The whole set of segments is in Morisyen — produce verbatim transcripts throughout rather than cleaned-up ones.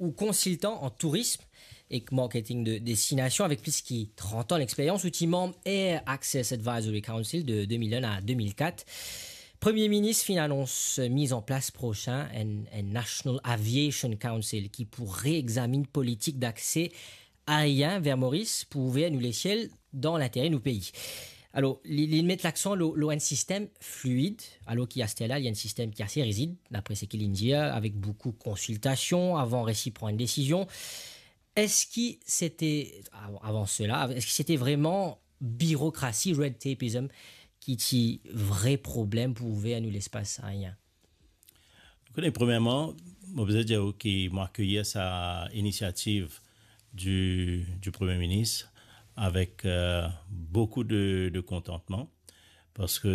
ou konsiltan an tourism ek marketing de destinasion avek plis ki trant an leksperyans. Ou ti manm Air Access Advisory Council de de mil enn a de mil kat. Premie Minis finn anons miz an plas prosin enn, enn National Aviation Council ki pou reegzamin politik dakse aerien ver Moris pou ouver nou lesiel dan lintere nou pei. Alor, li, li met laksan lor, lor enn sistem fluid, alor ki aster la, li enn sistem ki ase rizid, dapre seki li dir, avek boukou konsiltasion avan resi pran enn desizion. Eski sete, av-, avan sela, eski sete vreman birokrasi, red tapeism, ki ti vre problem pou ouver nou lespas aerien? Koute, premierman, mo bizin dir ou ki mo akeyir sa inisiativ di, di Premie Minis avek, eh, boukou de, de kontantman, parski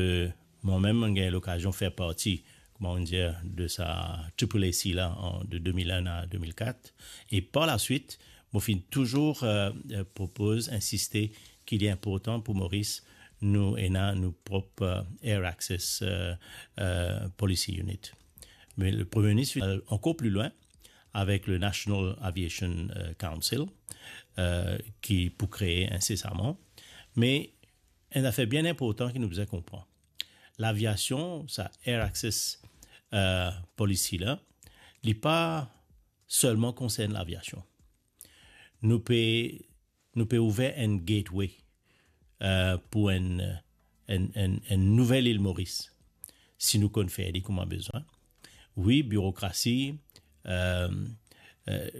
mwa mem, mo gagn lokazion fer parti, kouma nou dir, de sa triple A C la, an, de de mil enn a de mil kat. E par laswit, mo finn touzour, eh, eh, propoz, insiste ki li inportan pou Moris, nou ena nou prop, eh, Air Access, eh, eh, Policy Unit. Me le Premie Minis finn al ankor pli lwin avek le National Aviation, eh, Council, eh, ki pou kree insesaman. Me enn zafer bien inportan ki nou bizin konpran. Laviasion, sa Air Access, eh, Policy la, li pa selman konsern laviasion. Nou pe, nou pe ouver enn gateway, eh, pou enn, enn, enn, enn nouvel Ile Moris, si nou konn fer li kouma bizin. Wi, birokrasi, eh, eh,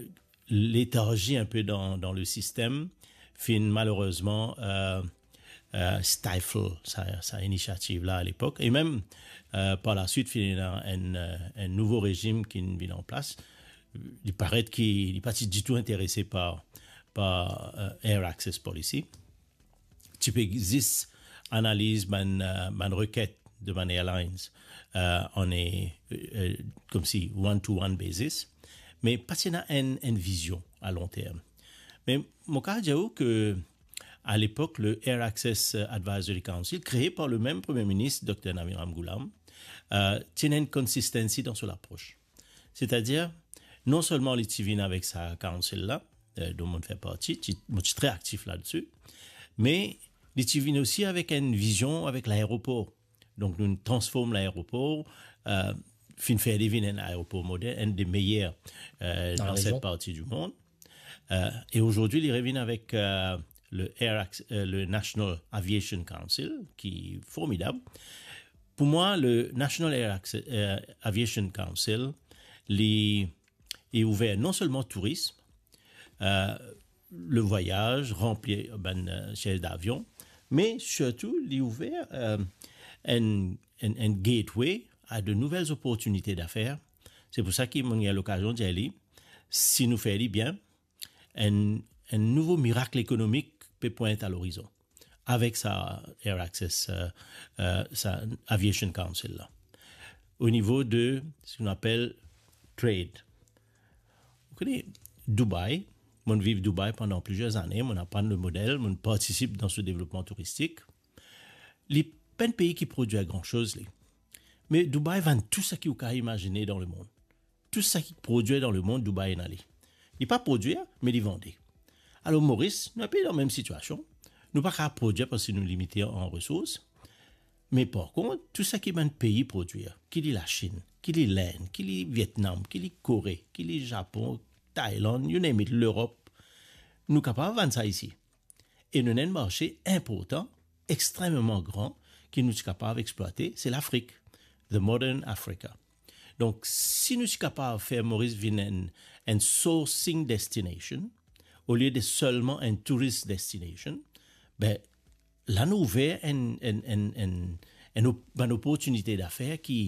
letarzi inpe dan, dan le sistem, finn malerezman, eh, eh, stifle sa, sa inisiativ la alepok. E mem, eh, par laswit, finn ena enn, eh, enn nouvo rezim ki vinn an plas. Li paret ki li pa ti ditou interese par, par, eh, Air Access Policy. Ti pe zis analiz bann, eh, bann reket de bann airlines, eh, an, eh, eh, koumsi one-to-one basis. Me pa ti ena enn, enn vizion a long term. Me mo kapav dir ou ke alepok, le Air Access, eh, Advisory Council, kree par le mem Premie Minis, Dokter Navi Ramgoolam, eh, ti ena enn consistency dan so lapros. Setadir, non selman li ti vinn avek sa council la, eh, dont mo fer parti, ti, mo ti tre aktif ladsi, me li ti vinn osi avek enn vizion avek laeropor. Donk, nou transform laeropor, eh, finn fer li vinn enn aeropor modern, enn de meyer, eh, dan set parti di mond. Eh, e azordi, li revinn avek, eh, le Air Acc-, eh, le National Aviation Council, ki formidab. Pou mwa, le National Air Acc-, eh, Aviation Council, li, li ouver non selman tourism, eh, le vwayaz, ranpli bann, eh, siez davion, me sirtou, li ouver, eh, enn, enn, enn gateway a de nouvel oportinite dafer. Se pou sa ki mo gagn lokazion dir li, si nou fer li bien, enn, enn nouvo mirak ekonomik pe pwint a lorizon avek sa Air Access, eh, eh, sa Aviation Council la. O nivo de seki nou apel trade. Ou kone, Dubai, mo viv Dubai pandan plizier zane, mo aprann le model, mo partisip dan so devlopman touristik. Li pa enn pei ki prodwir gran soz, li. Me Dubai vann tou seki ou kapav imazine dan lemond. Tou seki prodwir dan lemond, Dubai ena li. Li pa prodwir, me li vande. Alor, Moris, nou inpe dan mem sitiasion. Nou pa kapav prodwir parski nou limite an resours. Me par kont, tou seki bann pei prodwir, ki li Lasinn, ki li Lenn, ki li Vietnam, ki li Kore, ki li Japon, Tailand, you name it, Lerop, nou kapav vann sa isi. E nou ena enn marse inportan, extrememan gran, ki nou ti kapav explwate, se Lafrik, the modern Africa. Donk, si nou ti kapav fer Moris vinn enn, enn sourcing destination, olie de selman enn tourist destination, be, la nou ouver enn, enn, enn, enn, enn op-, bann oportinite dafer ki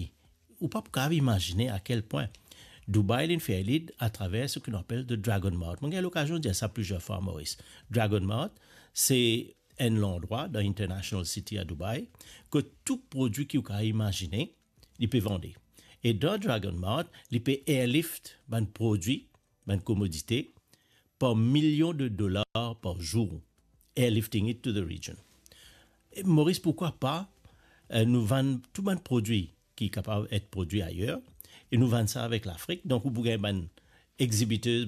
ou pa pou kapav imazine a kel pwin. Dubai, li fer li atraver seki nou apel the Dragon Mart. Mo gagn lokazion dir sa plizier fwa, Moris. Dragon Mart, se enn landrwa dan International City a Dubai, kot tou prodwi ki ou kapav imazine, li pe vande. E dan Dragon Mart, li pe airlift bann prodwi, bann komodite, par milion de dolar par zour, airlifting it to the region. E Moris, poukwa pa, eh, nou vann tou bann prodwi ki kapav et prodwi ayer, e nou vann sa avek Lafrik. Donk, ou pou gagn bann exhibitors, bann